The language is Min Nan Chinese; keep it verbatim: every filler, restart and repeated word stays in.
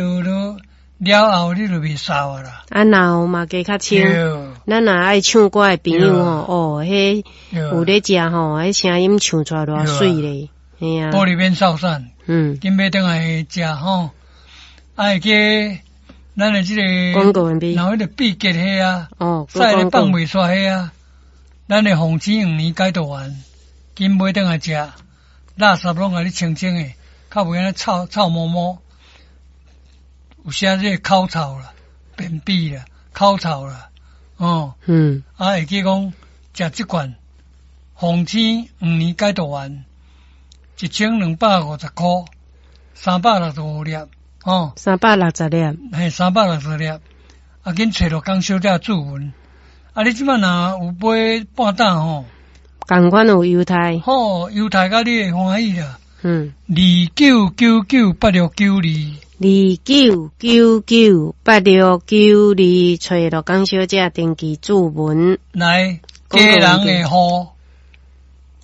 落落了後，你就袂捎啊啦。啊，腦嘛加較清。咱若愛唱歌的朋友吼，哦，彼有咧食吼，彼聲音唱出來偌媠咧，嘿啊。玻璃免掃散，嗯，緊欲轉來食吼，啊會記咱的這个廣告完畢。然後彼个秘訣彼啊，哦，屎咧放袂煞彼啊，咱的鳳青黃連解毒丸，緊買轉來食，垃圾攏共你清清的，較袂按呢臭臭毛毛。有寫這個口臭啦、便秘啦、口臭啦，哦，嗯，啊會記講食這罐鳳青黃連解毒丸，一千兩百五十箍，三百六十五粒，哦，三百六十粒，嘿，三百六十粒，啊，緊揣陸江小姐注文，啊，你這擺若有買半擔吼，仝款有優待，好，優待甲你會歡喜啦，嗯，二九九九八六九二。二九九九八六九二，揣陸江小姐登記注文。來，家人的戶，